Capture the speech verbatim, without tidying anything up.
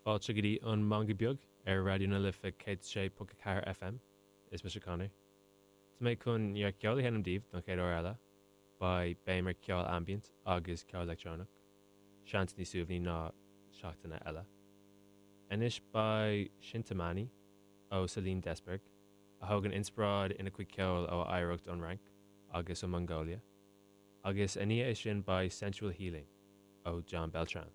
Fáilte go dtí an Meangadh Beag ar Raidió na Life céad sé ponc a ceathair FM. Is mise Conor. Tá mé chun neart ceoil a sheinm daoibh don chéad uair eile. Beidh béim ar ceol ambient agus ceol leictreonach. Seans níos suaimhní ná seachtaine eile. Anois beidh Chintamani ó Celine Desberg, a thógann inspioráid ina cuid ceoil ó oidhreacht ón Fhrainc agus ó Mongolia. Agus ina dhiaidh sin beidh Sensual Healing ó John Beltran.